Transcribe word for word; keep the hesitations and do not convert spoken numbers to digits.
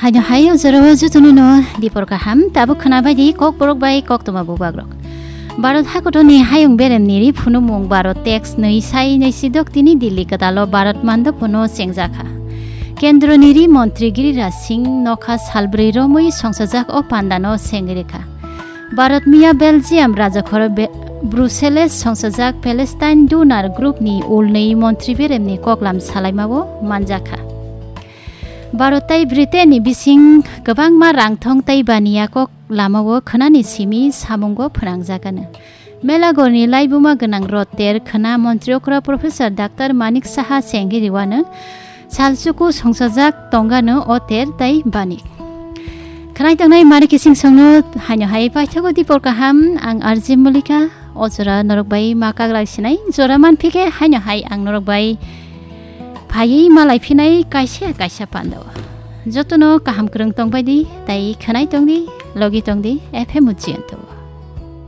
Haino hai o jora o jotono no dipor kaham, tabuk khwna bai di Kokborok bai koktwma bubagrok. Bharat hakoto ni hayung berem ni ri phunukmung baro tax nwi sai nwi si dok tini Delhi kwtal o Bharat mandop no chengjak kha. Kendro ni ri montri Giriraj Singh nokha salbrwi romwi songsajak o panda no sengwi rwkha. Bharat miya Belgium rajakhoro Be-, Brussels songsajak Palestine donor group ni ulnwi montri berem ni koklam salaima o manjak kha. Bharat tai Britain ni bising kwbangma rangthong tai baniya kok lama o khwnani simi samungo phwnangjak ano. Melagor ni laibuma gwnang rot ter khwna montri okra Professor Doctor Manik Saha sengwi riwano salsuku songsajak tongano o ter tai bani. Khwnai tongnai mari kising songno haino hai paithago dipor kaham ang R J Mulika o jora norok bai ma kaglai sinai jora manphike haino hai ang norok bai phaiwi malai phinai kaisa kaisa pando. Jotono kaham kwrwng tongbai di, tai khwnai tong di, logi tong di, F M Ujjayanta.